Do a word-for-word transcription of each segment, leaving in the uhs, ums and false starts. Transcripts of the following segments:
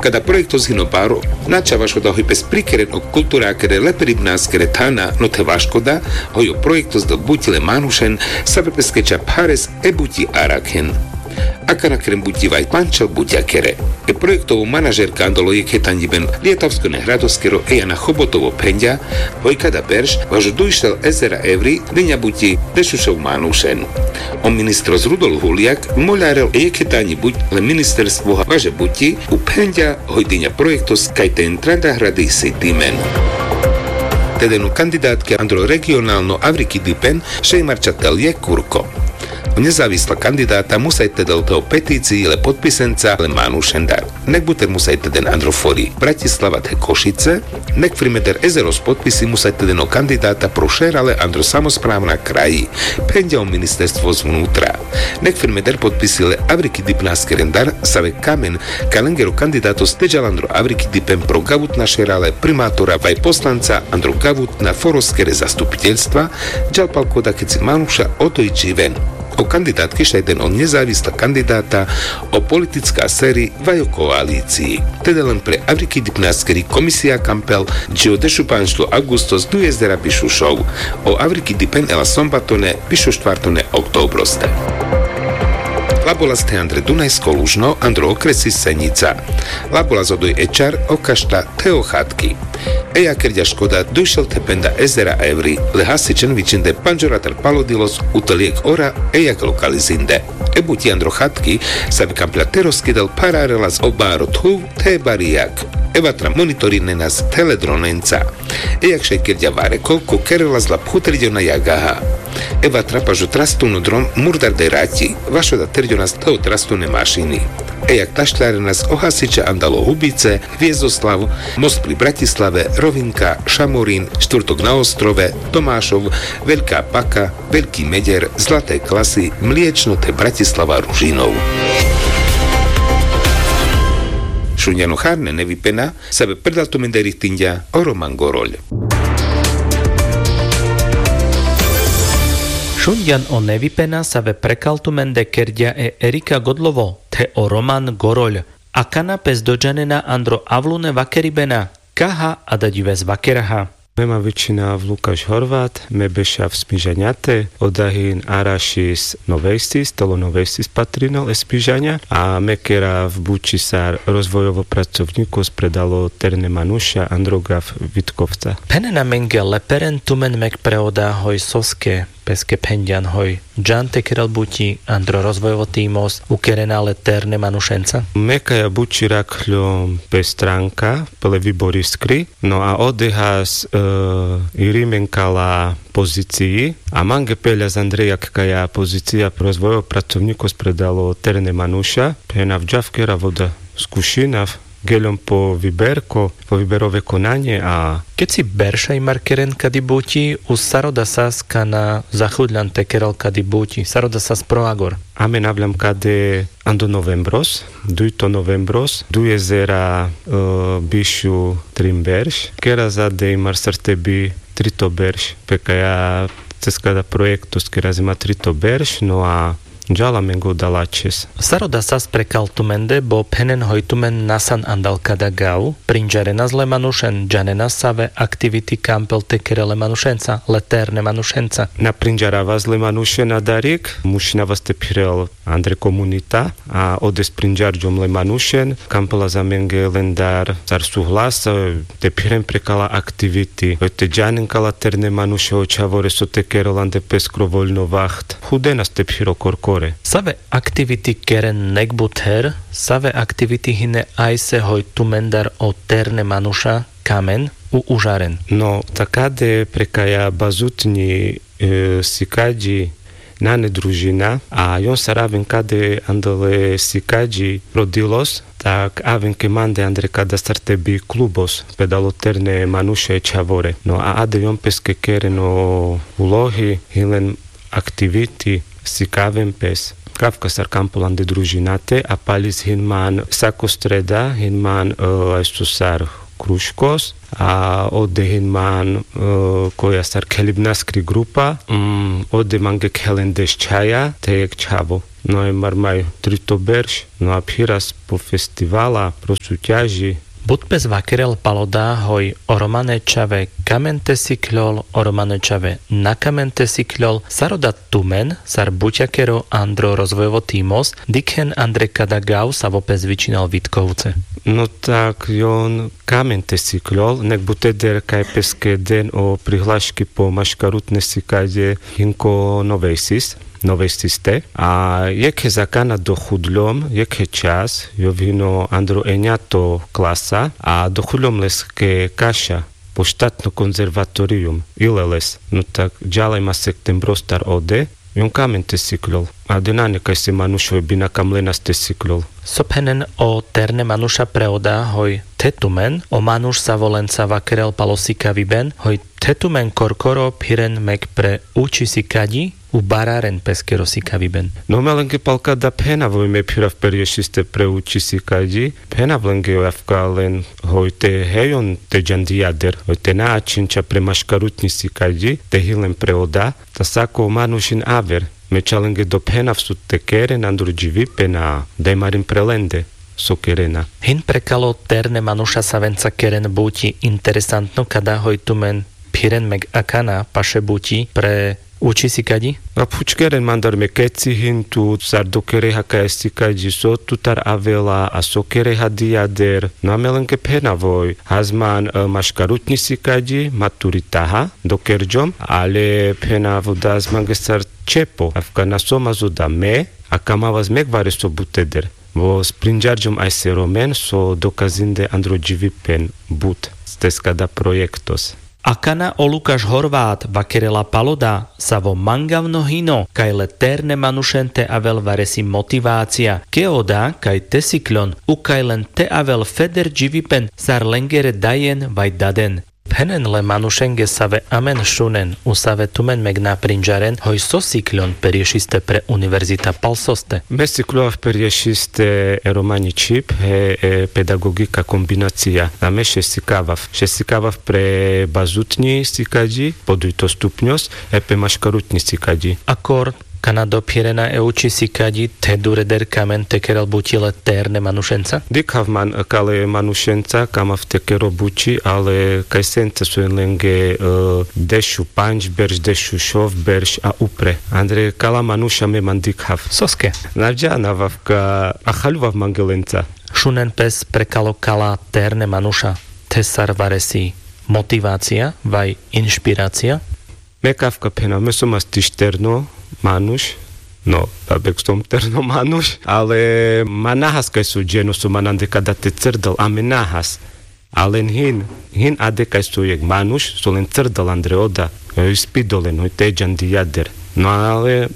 Kada projektos hino baro, na čhavaš oda hoj pes prikeren o kulturakere leperibnaskere thana, no the vaškoda hoj o projektos del buti le manušen save peske čha phares e buti arakhen. Akana keren buti vaj pančhel butiakere. E projektovo manažerka andalo jekhe tanjiben Lietavskone hradoskero Ejana Chobotovo phenďa, hoj kada berš važo dujšel ezera evri dinja buti dešušov manušen. O ministros Rudolf Huliak moľarel e jekhe tanji buti le ministerstvo važe buti u phenďa hoj dinja projektos kaj te entrada hradi si timen. Te deno kandidatke andro regionalno avrikidipen šaj marča tel jekh kurko. O nezavisla kandidata musaj te del te o peticii le potpisenca le manušendar. Nek buter musaj te den andro fori Bratislava the Košice, nek frimeder ezeros potpisi musaj te den o kandidata pro šerale andro samospravna kraji, phenďa o ministerstvo zvnutra. Nek frimeder potpisi le avrikidipnaskerendar save kamen ka lengero kandidatos te džal andro avrikidipen pro gavutna šerale primatora vaj poslanca andro gavutna foroskere zastupiteľstva, džal pal koda keci manuša oto i dživen. O kandidatke šaj den o nezavisla kandidata, o politicka seri vaj o koalicii. Te delen pre avrikidipnaskeri komisija kampel dži o dešupančlo agustos duj ezera bišušov. O avrikidipen ela sombatone bišuštvartone oktobroste. Labolas the andre Dunajsko Lužno andro okresi Senjica. Labolas odoj e čar o kašta the o Hatki. Ejak kerďa škoda dujšel the penda ezera evri, le hasičen vičinde pandžoratar palodilos u te li jekh ora ejak lokalizinde. E buti andro Hatki, save kampla te roskidel phararelas o baro thuv the bari jag. E vatra monitorinena s the le dronenca. Ejak šaj kerďa vareko ko kerelas la phuterďona jagaha. E vatra pažo trastuno drom murdar de raťi, vaš oda terďona s the o trastune mašini. Ejak tašľarenas o hasiča andalo Hubice, Viezoslav, Most pri Bratislave, Rovinka, Šamorin, Štvrtok na Ostrove, Tomášov, Veľká Paka, Veľký Meder, Zlaté Klasy, Mliečno the Bratislava Ružinov. Šunďan o hárne nevipena save prekal tumende richtinďa o Roman Goroľ. Šunďan o nevipena save prekal tumende kerďa e Erika Godlovo the o Roman Goroľ. Akana pes dodžanena andro avlune vakeribena, kaha a da ďives vakeraha. Me ma vičinav Lukáš Horvát, me bešav Smižaňate, oda hin arašis Novejstis, telo Novejstis patrinel e Smižaňa, a me kerav buči sar rozvojovo pracovňikos pre dalo terne manuša andro gav Vitkovca. Phenen amenge leperen tumen mek pre oda hoj soske, peske phenďan hoj džan te kerel buti andro rozvojovo timos ukerena le terne manušenca. Me kaja buči rakľom pe stranka, pe le Vibor Iskri, no a odehas, e, irimen kala pozicii, a mange peľas andre jak kaja pozicija rozvojovo pracovňikos pre dalo terne manuša, phena džav kerav oda, skušinav, geľom po viberko, po viberove konanie a... Keci berš aj mar keren kadi buti, u sar oda sas kana zachudľan te kerel kadi buti, sar oda sas pro agor? Amen avľam kade ando novembros, dujto novembros, duj ezera, e, bišu trin berš, kera za de i mar sar te bi trito berš, pe kaja cez kada projektos kera za ma trito berš, no a džal amenge oda lačhes. Sar oda sas prekal tumende, bo phenen hoj tumen nasan andal kada gav, prinďarenas le manušen, džanenas save aktiviti kampel te kerel le manušenca, le terne manušenca? Na prinďaravas le manušen adarik, mušinavas te phirel andre komunita, a odes prinďarďom le manušen, kampelas amenge lendar sar suhlas, e, te phiren pre kala aktiviti, e, te džanen kala terne manuša o čhavore so te kerel ande pes kro voľno vaht. Chudenas te phiro korkore. Save aktiviti keren nek but her, save aktiviti hine ajse hoj tumendar o terne manuša kamen u užaren? No, takade pre kaja bazutňi, e, sikaďi nane družina, a jon sar aven kade andale sikaďi pro dilos, tak aven ke mande andre kada sar te bi klubos, pe dalo terne manuša e čhavore. No, a ade jon peske keren o ulohi, hin len aktiviti, sikaven pes. Kavka sar kampel ande družinate, a palis hin man sako sreda, hin man, e, ajso sar kruškos. A ode hin man koja sar khelibnaskri grupa. Ode mange khelen deš čhaja te jek čhavo. No e mar maj trito berš. No a phiras po festivala pro suťaži. But pes vakerel palo da hoj o romane čhave kamen te sikľol, o romane čhave na kamen te sikľol. Sar oda tumen sar buťakero andro rozvojovo timos dikhen andre kada gav savo pes vičinal vitkovce? No tak jon kamen te sikľol nek buteder kaj peske den o prihlaški po maškarutne sikadje hinko novejsis novejsiste. A jekhe zakana dochudľom jekhe čas jov hino andro eňato klasa a dochudľom leske kaša po štatno konzervatorijum. Ile les no tak džalaj ma sektem brostar ode. Jon kamen te sikľol. A de nane kajse manuš hoj bi na kamlenas te sikľol. So phenen o terne manuša pre oda hoj the tumen o manuš savo lenca vakerel palo sikaviben hoj the tumen korkoro phiren mek pre učisikaďi u bararen peskero sikaviben? No me lenge palka da phenav hoj me phirav perješiste pre učisikaďi. Phenav lenge hoj avka len hoj te hejon te džandijader hoj te na ačhenča pre maškarutňisikaďi te hilen pre oda. Ta sako manuš hin aver. Me ča lenge dophenav so te keren andro dživipen a daj marin pre lende so kerena. Hin prekalo terne manuša savenca keren buti interesantno kada hoj tumen phiren meg akana paše buti pre učisikaďi? A phučkeren mandar me keci hin tu sar dokereha kajasikaďi so tutar avela a so kereha dijader. No a me lenge phenav hoj hazman maškarutňisikaďi maturitaha dokerďom ale phenav oda az mange sar čepo avka na so ma zoda me a kamavas mek vareso buteder. Vo sprinďarďom ajse romen so dokazinde andro dživipen but. Steska da projektos. Akana o lukaš horvat vakerela palo da savo mangavno hino kaj le terne manušen te avel varesi motivacija ke oda kaj te sikľon u kaj len te avel feder dživipen sar lengere dajen vaj daden. Phenen le manušenge save amen šunen u save tumen meg na prinďaren hoj so sikľon perješiste pre univerzita pal soste? Me sikľovav perješiste e romanji čhib he e pedagogika kombinacija. A me še sikavav še sikavav pre bazutňi sikaďi po dujto stupňos e pe maškarutňi sikaďi. Akor kana dophirena e učisikaďi the dureder kamen te kerel buti le terne manušenca? Dikhav man kale manušenca kamav te kero buti ale kajsenca so jen lenge dešupanďberš dešušovberš a upre andre kala manuša me man dikhav. Soske? Na vďanav avka a chaľuvav mange lenca. Šunen pes prekalo kala terne manuša the sar varesi motivacija vaj inšpiracija? Me kavka phenav me som as tiš terno manuš. No, babek som terno manuš ale ma nahas kaj so dženo so man ande kada te crdal a me nahas. Alen hin hin ade kaj so jek manuš so len crdal andre oda. Ispidol len hoj te džandijader. No ale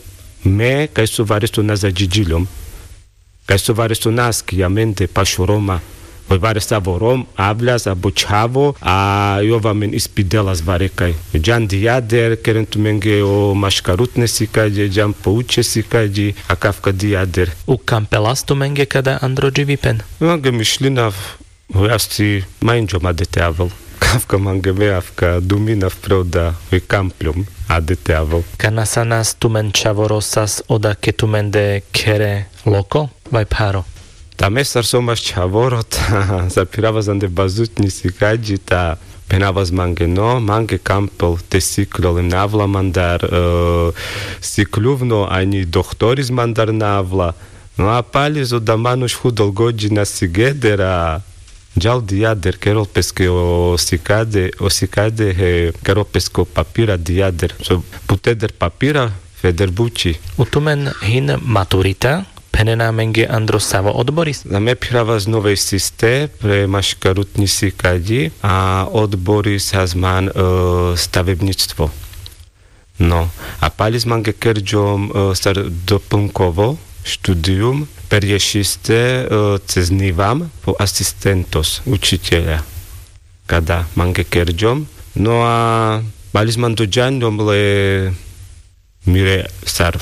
me kaj so vareso na zadžiđiljom. Kaj so vareso na askija mende pašo roma. Hoj varesavo rom avljas abo čhavo a jov amen ispidelas varekaj. Džan dijader keren tumenge o maškarutne sikađe džan po učesikađi. A kavka dijader. U kampelas tumenge kada andro dživipen? Mange mišljinav. Hoj asi ma inđom ade te avel. Kavka mange me avka duminav pre oda hoj kampljom ade te avel. Kana sanas tumen čhavoro sas oda ke tumende khere loko vaj pharo? Ta me sar som as čhavoro ta sar phirava zande bazutnji sikađi ta phenavas mange no mange kampel te sikljol em na avla mandar. Sikljuvno anji dohtoris mandar na avla. No a palis oda manuš hudol gođi na sigeder a džal dijader kerol peske o sikade o sikade he kerol peske o papira dijader so buteder papira feder buči. U tumen hin maturita phenena amenge andro savo odboris? Na me phiravas novejsiste pre maškarutnji sikađi a odboris hazman stavebnjictvo. No a palis mange kerđom sar doplnkovo študijum perješiste cez nivam po asistentos učitelja. Kada mange kerđom no a palis man dođanđom le mire sar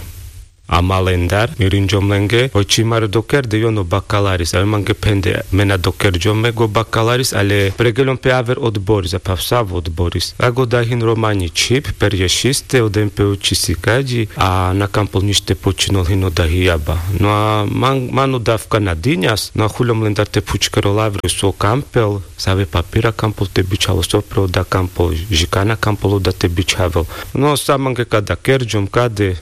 Ama lendar mi rinďom lenge, oj či mare dokerde jon o bakalaris. Ale mange phende, me na dokerďom meg o bakalaris, ale pregeľom pe aver odboris, a phav savo odboris. Ago da hin romani čhib, perješiste, oda pe učisi kaďi, a na kampol nič te počinol, hin oda hijaba. No a man, man oda avka na diňas, no a chuľom lendar te phučkerol avri so kampel, save papira kampol te bičhal, so pre oda kampol, žikana kampol oda te bičhavel. No sa mange kada kerďom, kade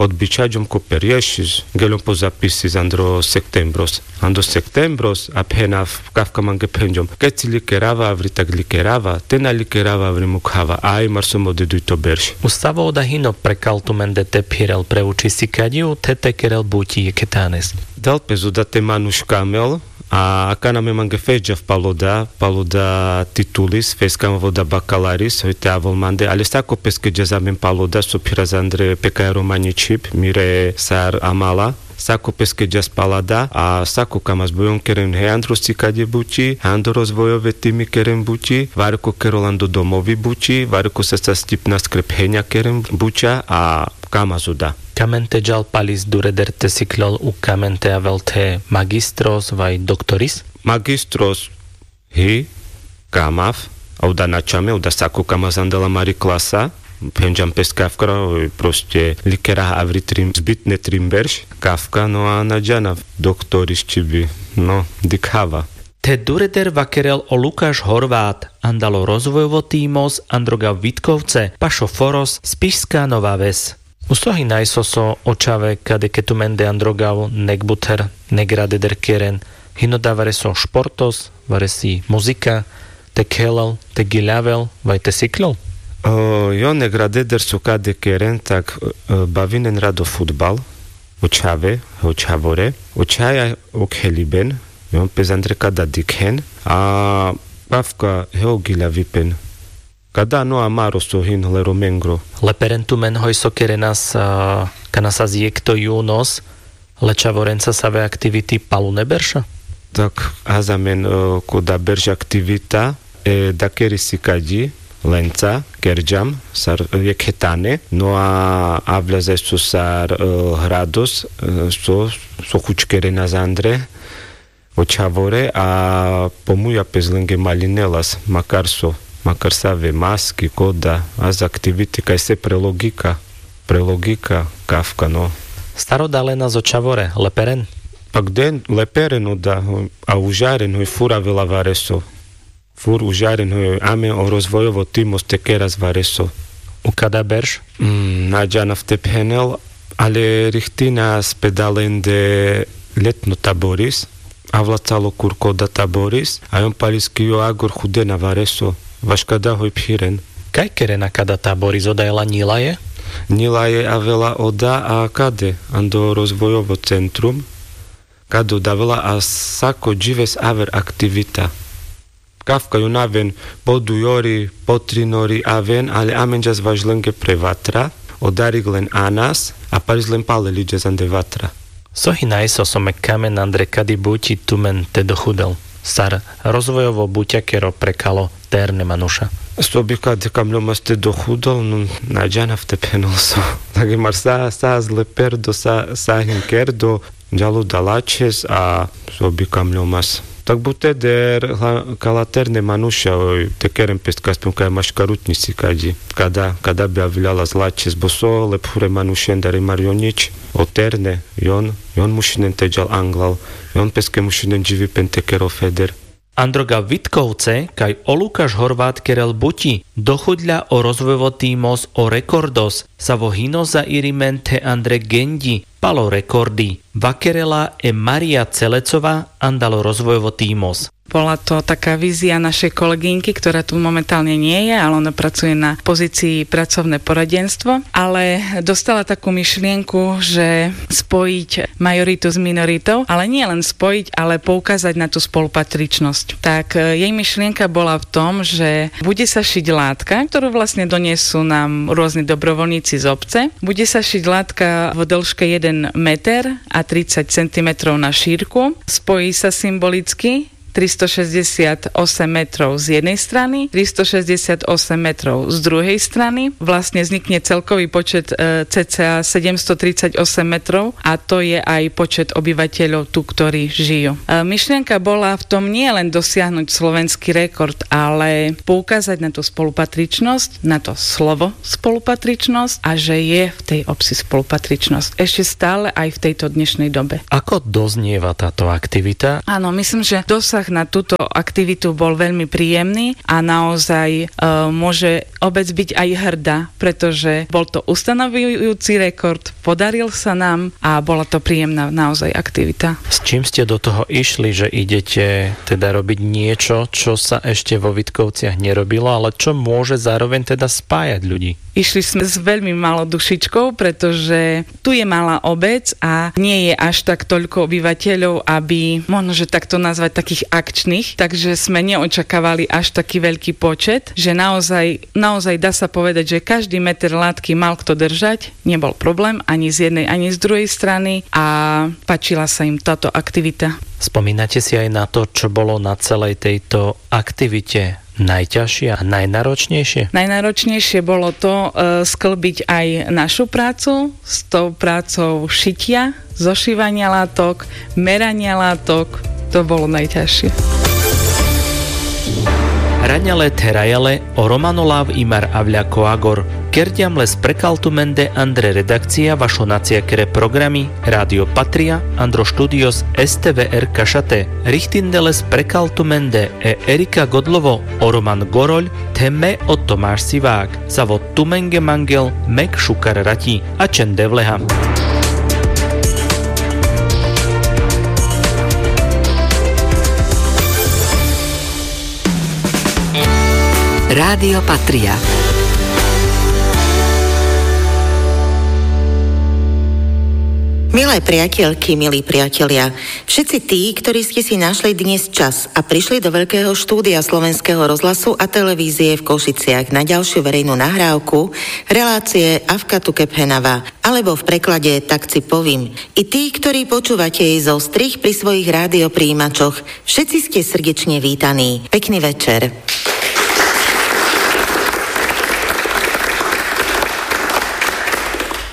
odbičhaďom ko perješis, geľom po zapisis andro septembros. Andro septembros, a phena, kafka mange phenďom. Keci likerava avri, tak likerava, te na likerava avri, mukhava, aj mar so mo deduj to berš. U savo oda hino prekal tumende te phirel, pre učisi kaďi, u te te kerel buti jekhe tanes? Dal pe so oda te manuš kamel, a akana me mange fesďav pal oda, pal oda titulis, feskam oda bakalaris, hoj te avol mande, ale sako peske ďas amen pal oda, so phiras andre pe kaj romani čhib, mire sar amala, sako peske ďas pal oda, a sako kamas bujon keren he andro sikaďe buti, andro rozvojove timi keren buti, vareko kerol ando domovi buti, vareko sa sa stipna skrep heňa keren buťa, a kamas oda. Kamen te ďal palis dureder te sikľol, u kamen te avel the magistros vaj doktoris? Magistros hi, kamav, a oda na čame, oda sako kamas andela mari klasa, phenďam pes kafkra, proste likera avri trim, zbitne trim berš, kafka, no a na ďanav doktoris či bi, no, dikhava. The dureder vakerel o Lukáš Horvát, andalo rozvojovo tímos Androga Vitkovce, pašo Foros, Spišská Nová Ves. U so hi najso so o čhave, kade ke tumende Androgav nek buter, nek radeder keren, hino da vareso športos, varesi muzika, te khelel, te giľavel, vaj te sikľol? Jon nek radeder so kade keren, tak bavinen rado fudbal, o čhave, o čhavore, o čhaja o kheliben, jon pes andre kada dikhen, a kafka he o giľavipen. Kada no amaro so hin hle romengro. Leperen tumen hoj so kerenas, kana sas jekh to junos, le čhavorenca save aktiviti palune berša? Tak, has amen koda berš aktivita, e, da keri sikaďi, lenca kerďam sar jekhe tane, no a avľa zaj so sar hrados, so, so chuč kerenas andre o čhavore, a po muja pes lenge malinelas, makar so, makar save maski, koda, has aktiviti kaj se pre logika, pre logika kafka, no. Sar oda lenas o čhavore, leperen? Pak den, leperen oda, a užaren hoj fur avela vareso. Fur užaren hoj, amen o rozvojovo tímos te keras vareso. U kada berš? Na ďanav te phenel, ale rihtinas pe da lende ljetno taboris, avla calo kurko oda taboris, a jon paliski jo agor chudena vareso, vaš kada hoj phiren. Kaj kerena kada taboris, oda ela ňilaje? Ňilaje avela oda, a kade, ando rozvojovo centrum, kade oda avela, a sako ďives aver aktivita. Kafka jon aven po dujori, po trinori aven, ale amen ďas vaš lenge pre vatra, odarik len anas, a palis len palel iďas ande vatra. So hi najso so me kamen andre kadi buti tumen te dochudel, sar rozvojovo buťakero prekalo te erne manuša? So bi kade kamľomas te dochudel, no, na ďanav te phenel so. Tak mar sa, sa zle perdo, sa, sa hin kerdo, ďalo da Lačhes a so bi kamľomas. Tak buteder, kala te erne manuša, oj, te keren pes kaspum kaj maškarutňi sikaďi. Kada, kada bi aviľalas Lačhes, bo so le phure manušendar i mar jon nič. O te erne, jon, jon mušinen te ďal anglal, jon peske mušinen ďivipen te kerol feder. Androga Vitkovce kaj o Lukáš Horvát kerel buti, dochudľa o rozvojovo tímos o rekordos, savo hino za irimen the andre geňďi, palo rekordi. Vakerela e Maria Celecová, andalo rozvojovo tímos. Bola to taká vízia našej kolegynky, ktorá tu momentálne nie je, ale ona pracuje na pozícii pracovné poradenstvo, ale dostala takú myšlienku, že spojiť majoritu s minoritou, ale nie len spojiť, ale poukázať na tú spolupatričnosť. Tak jej myšlienka bola v tom, že bude sa šiť látka, ktorú vlastne donesú nám rôzni dobrovoľníci z obce. Bude sa šiť látka v dĺžke jeden meter a tridsať centimetrov na šírku. Spojí sa symbolicky tristošesťdesiatosem metrov z jednej strany, tristošesťdesiatosem metrov z druhej strany. Vlastne vznikne celkový počet, e, cca sedemstotridsaťosem metrov, a to je aj počet obyvateľov tu, ktorí žijú. E, myšlienka bola v tom nie len dosiahnuť slovenský rekord, ale poukázať na tú spolupatričnosť, na to slovo spolupatričnosť, a že je v tej obci spolupatričnosť ešte stále aj v tejto dnešnej dobe. Ako doznieva táto aktivita? Áno, myslím, že dosah na túto aktivitu bol veľmi príjemný a naozaj, e, môže obec byť aj hrdá, pretože bol to ustanovujúci rekord, podaril sa nám a bola to príjemná naozaj aktivita. S čím ste do toho išli, že idete teda robiť niečo, čo sa ešte vo Vitkovciach nerobilo, ale čo môže zároveň teda spájať ľudí? Išli sme s veľmi malou dušičkou, pretože tu je malá obec a nie je až tak toľko obyvateľov, aby, možno, že tak to nazvať, takých akčných, takže sme neočakávali až taký veľký počet, že naozaj, naozaj dá sa povedať, že každý meter látky mal kto držať, nebol problém ani z jednej, ani z druhej strany, a páčila sa im táto aktivita. Spomínate si aj na to, čo bolo na celej tejto aktivite najťažšie a najnáročnejšie? Najnáročnejšie bolo to, e, sklbiť aj našu prácu s tou prácou šitia, zošívania látok, merania látok. To bolo najťažšie. Raňale therajale, o Romano Lav imar avľa koagor. Kerďam le sprekaltumende andre redakcia vašo naciakere programi Rádio Patria, andro štúdios STVR Kašate. Richtinde le sprekaltumende e Erika Godlovo, o Roman Goroľ, the me o Tomáš Sivák. Savo tumenge mangel mek šukar rati. A čen devleha. Rádio Patria. Milé priateľky, milí priatelia, Všetci tí, ktorí ste si našli dnes čas a prišli do Veľkého štúdia Slovenského rozhlasu a televízie v Košiciach na ďalšiu verejnú nahrávku relácie Avka tu kephenava, alebo v preklade Tak ci povím. I tí, ktorí počúvate jej zostrih pri svojich rádioprijímačoch, Všetci ste srdečne vítaní. Pekný večer.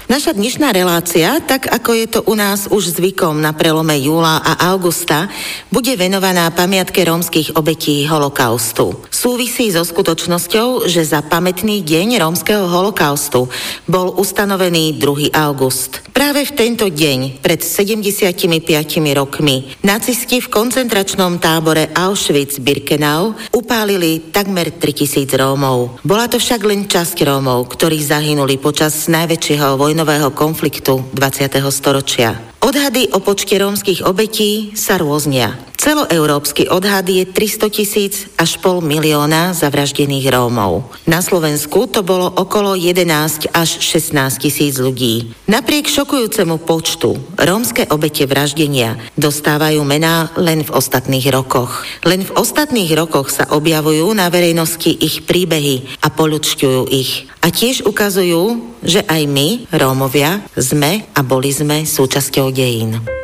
Naša dnešná relácia, tak ako je to u nás už zvykom na prelome júla a augusta, bude venovaná pamiatke rómskych obetí holokaustu. Súvisí so skutočnosťou, že za pamätný deň rómskeho holokaustu bol ustanovený druhý august. Práve v tento deň, pred sedemdesiatimi piatimi rokmi, nacisti v koncentračnom tábore Auschwitz-Birkenau upálili takmer tritisíc Rómov. Bola to však len časť Rómov, ktorí zahynuli počas najväčšieho vojnového konfliktu dvadsiateho storočia. Odhady o počte rómskych obetí sa rôznia. Celoeurópsky odhad je tristotisíc až pol milióna zavraždených Rómov. Na Slovensku to bolo okolo jedenásť až šestnásťtisíc ľudí. Napriek šokujúcemu počtu, rómske obete vraždenia dostávajú mená len v ostatných rokoch. Len v ostatných rokoch sa objavujú na verejnosti ich príbehy a poľučťujú ich. A tiež ukazujú, že aj my, Rómovia, sme a boli sme súčasťou dejín.